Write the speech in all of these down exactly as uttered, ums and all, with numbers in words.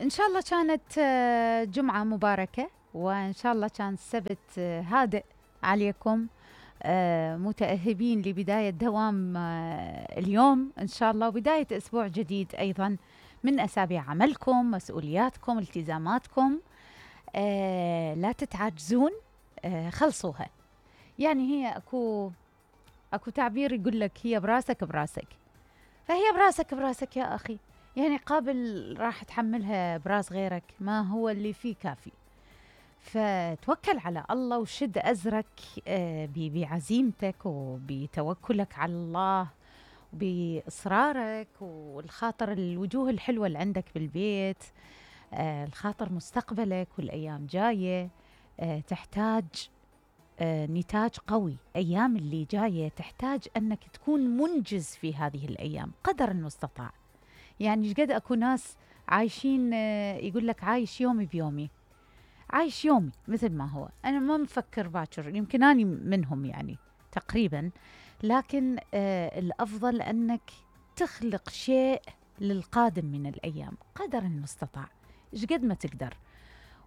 إن شاء الله كانت آه، جمعة مباركة، وإن شاء الله كان السبت آه، هادئ عليكم، آه، متأهبين لبداية دوام آه، اليوم إن شاء الله، وبداية أسبوع جديد أيضا من أسابيع عملكم، مسؤولياتكم، التزاماتكم. آه، لا تتعجزون، آه، خلصوها. يعني هي أكو أكو تعبير يقول لك هي براسك براسك، فهي براسك براسك يا أخي. يعني قابل راح تحملها براس غيرك، ما هو اللي فيه كافي. فتوكل على الله وشد أزرك آه، ب- بعزيمتك وبتوكلك على الله، بإصرارك والخاطر الوجوه الحلوة اللي عندك بالبيت، آه، الخاطر مستقبلك والأيام جاية. آه، تحتاج آه، نتاج قوي. أيام اللي جاية تحتاج أنك تكون منجز في هذه الأيام قدر المستطاع. يعني ايش قد اكو ناس عايشين، آه، يقول لك عايش يومي بيومي، عايش يومي مثل ما هو. انا ما مفكر باكر، يمكن اني منهم يعني تقريبا. لكن آه الافضل انك تخلق شيء للقادم من الايام قدر المستطاع، ايش قد ما تقدر.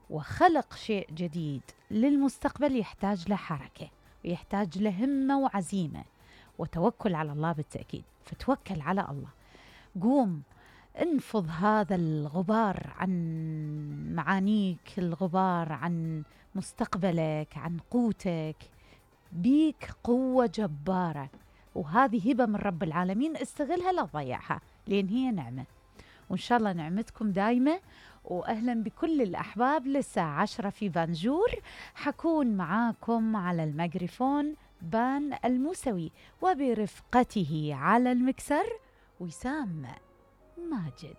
وخلق شيء جديد للمستقبل يحتاج له حركة، ويحتاج له همة وعزيمة وتوكل على الله بالتأكيد. فتوكل على الله، قوم انفض هذا الغبار عن معانيك، الغبار عن مستقبلك، عن قوتك. بيك قوة جبارة، وهذه هبة من رب العالمين، استغلها لا تضيعها، لأن هي نعمة. وإن شاء الله نعمتكم دايمة. وأهلا بكل الأحباب للساعة عشرة في بانجور. حكون معاكم على الميكروفون بان الموسوي، وبرفقته على المكسر وسام ماجد.